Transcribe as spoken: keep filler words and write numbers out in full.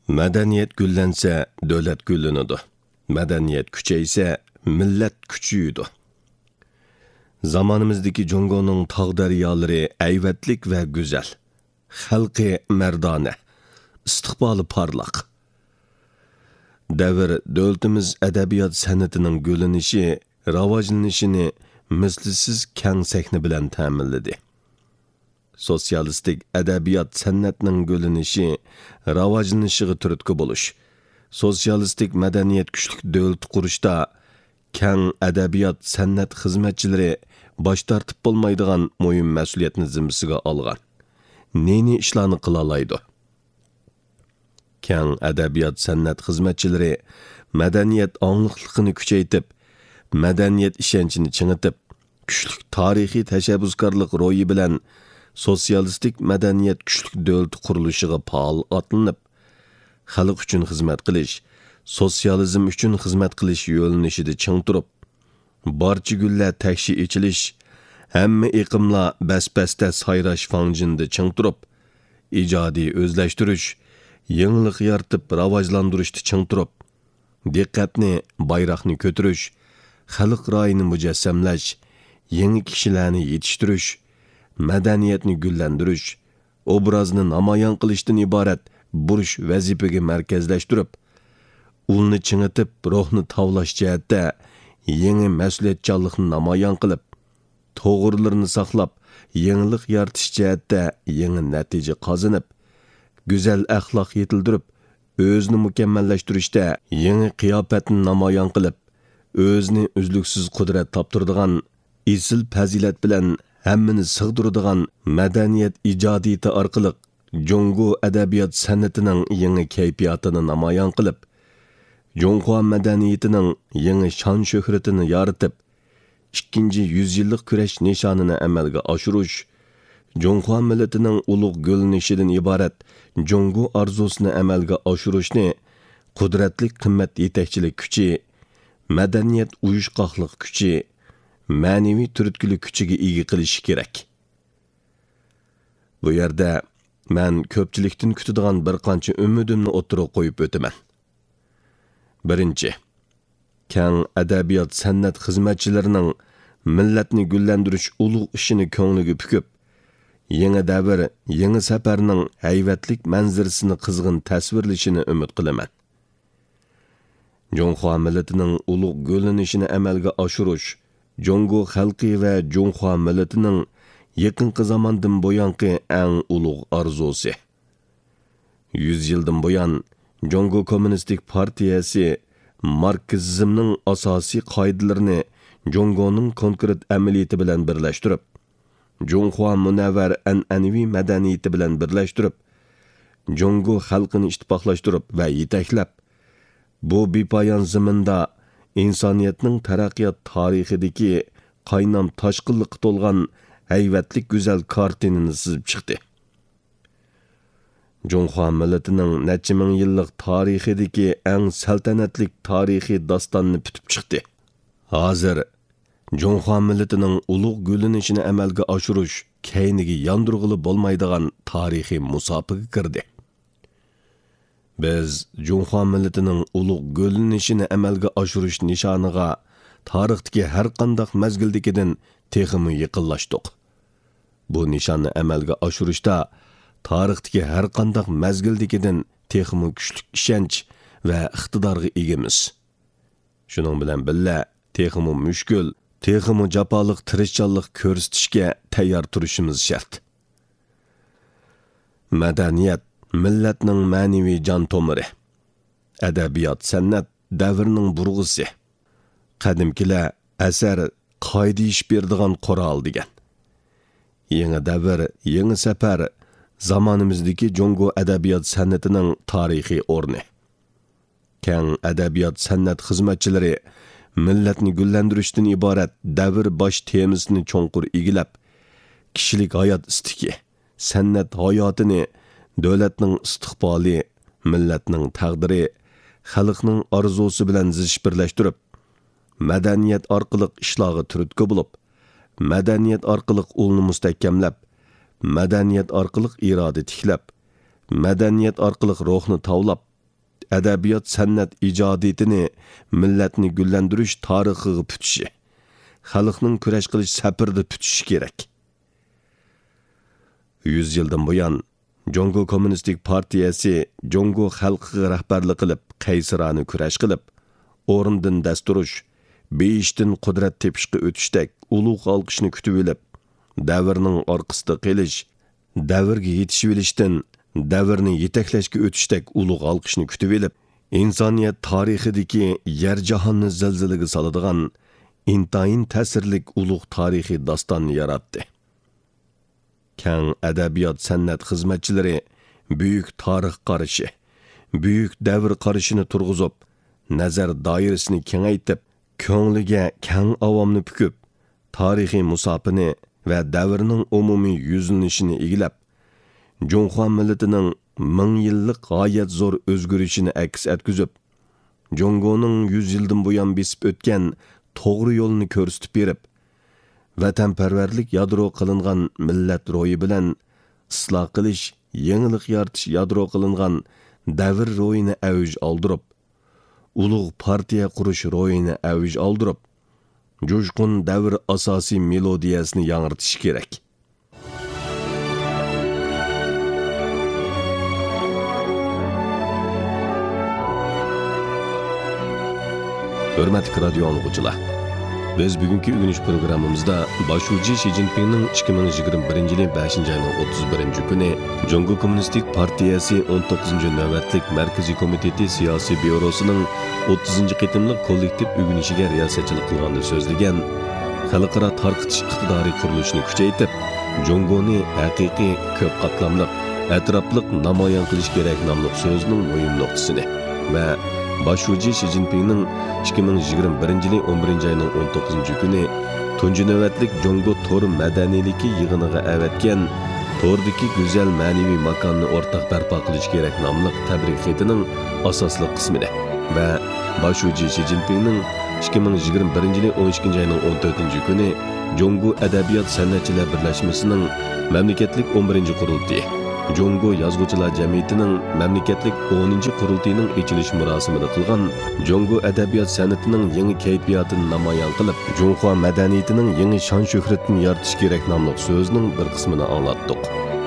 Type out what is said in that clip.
مەدەنىيەت گۈللەنسە، دۆلەت گۈللىنىدۇ. مەدەنىيەت كۈچەيسە، مىللەت كۈچىيىدۇ. زامانىمىزدىكى جۇڭگونىڭ تاغ دەريالىرى ھەيۋەتلىك ۋە گۈزەل. خەلقى مەردانە، ئىستىقبالى پارلاق. دەۋر دۆلىتىمىز ئەدەبىيات سەنئىتىنىڭ گۈللىنىشى، راۋاجلىنىشىنى مىسلىسىز كەڭ سەھنە بىلەن تەمىنلىدى. سوتسىيالىستىك ئەدەبىيات سەنئەتنىڭ گۈللىنىشى، راۋاجلىنىشىغا تۈرتكە بولۇش، سوتسىيالىستىك مەدەنىيەت كۈچلۈك دۆلىتى قۇرۇشتا كەڭ ئەدەبىيات سەنئەت خىزمەتچىلىرى باش تارتىپ بولمايدىغان مۇھىم مەسئۇلىيەتنى زىممىسىگە ئالغان. نى-نى ئىشلارنى قىلالايدۇ؟ كەڭ ئەدەبىيات سەنئەت خىزمەتچىلىرى مەدەنىيەت ئاڭلىقلىقىنى كۈچەيتىپ، مەدەنىيەت ئىشەنچىنى چىڭىتىپ، كۈچلۈك تارىخىي تەشەببۇسكارلىق روھى بىلەن سوتسىيالىستىك مەدەنىيەت كۈچلۈك دۆلىتى قۇرۇلۇشىغا پائال ئاتلىنىپ، خەلق ئۈچۈن خىزمەت قىلىش، سوتسىيالىزم ئۈچۈن خىزمەت قىلىش يۆنىلىشىدە چىڭ تۇرۇپ، بارچە گۈللەر تەكشى ئېچىلىش، ھەممە ئېقىملار بەس-بەستە سايراش فاڭجېنىدا چىڭ تۇرۇپ، ئىجادىي ئۆزلەشتۈرۈش، يېڭىلىق يارىتىپ راۋاجلاندۇرۇشتا چىڭ تۇرۇپ، دىققەتنى، بايراقنى كۆتۈرۈش، خەلق رايىنى مۇجەسسەملەش، يېڭى كىشىلەرنى يېتىشتۈرۈش، مەدەنىيەتنى گۈللەندۈرۈش، ئوبرازنى نامايان قىلىشتىن ئىبارەت بۇرچ ۋەزىپىگە مەركەزلەشتۈرۈپ، ئۇلنى چىڭىتىپ، روھنى تاۋلاش جەھەتتە يېڭى مەسئۇلىيەتچانلىقنى نامايان قىلىپ، توغرىلىرىنى ساقلاپ، يېڭىلىق يارىتىش جەھەتتە يېڭى نەتىجە قازىنىپ، گۈزەل ئەخلاق يېتىلدۈرۈپ، ئۆزىنى مۇكەممەللەشتۈرۈشتە يېڭى قىياپەتنى نامايان قىلىپ، ئۆزىنى ئۈزلۈكسىز قۇدرەت تاپتۇرىدىغان، ئېسىل پەزىلەت بىلەن ھەممىنى سىغدۇرىدىغان مەدەنىيەت ئىجادىيىتى ئارقىلىق جۇڭگو ئەدەبىيات سەنئىتىنىڭ يېڭى كەيپىياتىنى نامايان قىلىپ، جۇڭخۇا مەدەنىيىتىنىڭ يېڭى شان-شۆھرىتىنى يارىتىپ، ئىككىنچى يۈز يىللىق كۈرەش نىشانىنى ئەمەلگە ئاشۇرۇش، جۇڭخۇا مىللىتىنىڭ ئۇلۇغ گۈللىنىشىدىن ئىبارەت جۇڭگو ئارزۇسىنى ئەمەلگە ئاشۇرۇشنى قۇدرەتلىك قىممەت يېتەكچىلىك كۈچى، مەدەنىيەت ئۇيۇشقاقلىق كۈچى، مەنىۋى تۈرتكىلىك كۈچىگە ئىگە قىلىشى كېرەك. بۇ يەردە مەن كۆپچىلىكتىن كۈتىدىغان بىر قانچە ئۈمىدىمنى ئوتتۇرىغا قويۇپ ئۆتىمەن. بىرىنچى، كەڭ ئەدەبىيات سەنئەت خىزمەتچىلىرىنىڭ مىللەتنى گۈللەندۈرۈش ئۇلۇغ ئىشىنى كۆڭلىگە پۈكۈپ، يېڭى دەۋر، يېڭى سەپەرنىڭ ھەيۋەتلىك مەنزىرىسىنى قىزغىن تەسۋىرلىشىنى ئۈمىد قىلىمەن. جۇڭخۇا مىللىتىنىڭ ئۇلۇغ گۈللىنىشىنى ئەمەلگە ئاشۇرۇش جۇڭگو خەلقى ۋە جۇڭخۇا مىللىتىنىڭ يېقىنقى زاماندىن بۇيانقى ئەڭ ئۇلۇغ ئارزۇسى. يۈز يىلدىن بۇيان، جۇڭگو كوممۇنىستىك پارتىيەسى ماركسىزمنىڭ ئاساسىي قائىدىلىرىنى جۇڭگونىڭ كونكرېت ئەمەلىيىتى بىلەن بىرلەشتۈرۈپ، جۇڭخۇا مۇنەۋۋەر ئەنئەنىۋى مەدەنىيىتى بىلەن بىرلەشتۈرۈپ، جۇڭگو خەلقىنى ئىتتىپاقلاشتۇرۇپ ۋە يېتەكلەپ، بۇ بىپايان زېمىندا ئىنسانىيەتنىڭ تەرەققىيات تارىخىدىكى قاينام تاشقىنلىققا تولغان ھەيۋەتلىك گۈزەل كارتىنىنى سىزىپ چىقتى. جۇڭخۇا مىللىتىنىڭ نەچچە مىڭ يىللىق تارىخىدىكى ئەڭ سەلتەنەتلىك تارىخىي داستاننى پۈتۈپ چىقتى. ھازىر جۇڭخۇا مىللىتىنىڭ ئۇلۇغ گۈللىنىشىنى ئەمەلگە ئاشۇرۇش كەينىگە ياندۇرغىلى بولمايدىغان تارىخىي مۇساپىگە كىردى. بىز جۇڭخۇا مىللىتىنىڭ ئۇلۇغ گۈللىنىشىنى ئەمەلگە ئاشۇرۇش نىشانىغا تارىختىكى ھەرقانداق مەزگىلدىكىدىن تېخىمۇ يېقىنلاشتۇق. بۇ نىشاننى ئەمەلگە ئاشۇرۇشتا تارىختىكى ھەرقانداق مەزگىلدىكىدىن تېخىمۇ كۈچلۈك ئىشەنچ ۋە ئىقتىدارغا ئىگىمىز. شۇنىڭ بىلەن بىللە، تېخىمۇ مۈشكۈل، تېخىمۇ جاپالىق تىرىشچانلىق كۆرسىتىشكە تەييار تۇرۇشىمىز شەرت. مەدەنىيەت مىللەتنىڭ مەنىۋى جان تومۇرى. ئەدەبىيات-سەنئەت دەۋرنىڭ بۇرغىسى. قەدىمكىلەر «ئەسەر قائىدە ئېشىپ بېرىدىغان قورال» دېگەن. يېڭى دەۋر، يېڭى سەپەر، زامانىمىزدىكى جۇڭگو ئەدەبىيات-سەنئىتىنىڭ تارىخىي ئورنى. كەڭ ئەدەبىيات-سەنئەت خىزمەتچىلىرى مىللەتنى گۈللەندۈرۈشتىن ئىبارەت دەۋر باش تېمىسىنى چوڭقۇر ئىگىلەپ، كىشىلىك ھايات ئىستىكى، سەنئەت ھاياتىنى دۆلەتنىڭ ئىستىقبالى، مىللەتنىڭ تەقدىرى، خەلقنىڭ ئارزۇسى بىلەن زىچ بىرلەشتۈرۈپ، مەدەنىيەت ئارقىلىق ئىشلارغا تۈرتكە بولۇپ، مەدەنىيەت ئارقىلىق ئۇلنى مۇستەھكەملەپ، مەدەنىيەت ئارقىلىق ئىرادە تىكلەپ، مەدەنىيەت ئارقىلىق روھنى تاۋلاپ، ئەدەبىيات-سەنئەت ئىجادىيىتىنى مىللەتنى گۈللەندۈرۈش تارىخىغا پۈتۈشى، خەلقنىڭ كۈرەش قىلىش سەپىرىدە پۈتۈشى كېرەك. يۈز يىلدىن بۇيان، جۇڭگو كوممۇنىستىك پارتىيەسى جۇڭگو خەلقىگە رەھبەرلىك قىلىپ، قەيسىرانە كۈرەش قىلىپ، ئورنىدىن دەس تۇرۇش، بېيىشتىن قۇدرەت تېپىشقا ئۆتۈشتەك ئۇلۇغ ئالقىشنى كۈتۈۋېلىپ، دەۋرنىڭ ئارقىسىدا قېلىش، دەۋرگە يېتىشىۋېلىشتىن دەۋرنى يېتەكلەشكە ئۆتۈشتەك ئۇلۇغ ئالقىشنى كۈتۈۋېلىپ، ئىنسانىيەت تارىخىدىكى يەر جاھاننى زىلزىلىگە سالىدىغان ئىنتايىن تەسىرلىك ئۇلۇغ تارىخىي داستاننى ياراتتى. كەڭ ئەدەبىيات-سەنئەت خىزمەتچىلىرى بۈيۈك تارىخ قارىشى، بۈيۈك دەۋر قارىشىنى تۇرغۇزۇپ، نەزەر دائىرىسىنى كېڭەيتىپ، كۆڭلىگە كەڭ ئاۋامنى پۈكۈپ، تارىخىي مۇساپىنى ۋە دەۋرنىڭ ئومۇمىي يۈزلىنىشىنى ئىگىلەپ، جۇڭخۇا مىللىتىنىڭ مىڭ يىللىق غايەت زور ئۆزگىرىشىنى ئەكس ئەتكۈزۈپ، جۇڭگونىڭ يۈز يىلدىن بۇيان بېسىپ ئۆتكەن توغرا يولىنى كۆرسىتىپ بېرىپ، ۋەتەنپەرۋەرلىك يادرو قىلىنغان مىللەت روھى بىلەن ئىسلاھ قىلىش، يېڭىلىق يارىتىش يادرو قىلىنغان دەۋر روھىنى ئەۋج ئالدۇرۇپ، ئۇلۇغ پارتىيە قۇرۇش روھىنى ئەۋج ئالدۇرۇپ، جۇشقۇن دەۋر ئاساسىي مېلودىيەسىنى ياڭرىتىشى كېرەك. ھۆرمەتلىك رادىيو ئاڭلىغۇچىلار! بىز بۈگۈنكى ئۆگىنىش پروگراممىمىزدا باش شۇجى شى جىنپىڭنىڭ ئىككى مىڭ يىگىرمە بىرىنچى يىلى بەشىنچى ئاينىڭ ئوتتۇز بىرىنچى كۈنى جۇڭگو كوممۇنىستىك پارتىيەسى ئون توققۇزىنچى نۆۋەتلىك مەركىزىي كومىتېتى سىياسىي بيۇروسىنىڭ ئوتتۇزىنچى قېتىملىق كوللېكتىپ ئۆگىنىشىگە رىياسەتچىلىك قىلغاندا سۆزلىگەن خەلقئارا تارقىتىش ئىقتىدارى قۇرۇلۇشىنى كۈچەيتىپ، جۇڭگونى ھەقىقىي كۆپ قاتلاملىق، ئەتراپلىق نامايان قىلىش كېرەك ناملىق سۆزىنىڭ مۇھىم نۇقتىسىنى ۋە باش شۇجى شى جىنپىڭنىڭ ئىككى مىڭ يىگىرمە بىرىنچى يىلى ئون بىرىنچى ئاينىڭ ئون توققۇزىنچى كۈنى تۇنجى نۆۋەتلىك جۇڭگو تور مەدەنىيلىكى يىغىنىغا ئەۋەتكەن توردىكى گۈزەل مەنىۋى ماكاننى ئورتاق بەرپا قىلىش كېرەك ناملىق تەبرىك خېتىنىڭ ئاساسلىق قىسمىنى ۋە باش شۇجى شى جىنپىڭنىڭ ئىككى مىڭ يىگىرمە بىرىنچى يىلى ئون ئىككىنچى ئاينىڭ ئون تۆتىنچى كۈنى جۇڭگو ئەدەبىيات سەنئەتچىلەر بىرلەشمىسىنىڭ مەملىكەتلىك ئون بىرىنچى قۇرۇلتىيى، جۇڭگو يازغۇچىلار جەمئىيىتىنىڭ مەملىكەتلىك ئونىنچى قۇرۇلتىيىنىڭ ئېچىلىش مۇراسىمىدا قىلغان جۇڭگو ئەدەبىيات سەنئىتىنىڭ يېڭى كەيپىياتىنى نامايان قىلىپ، جۇڭخۇا مەدەنىيىتىنىڭ يېڭى شان-شۆھرىتىنى يارىتىش كېرەك ناملىق سۆزىنىڭ بىر قىسمىنى ئاڭلاتتۇق.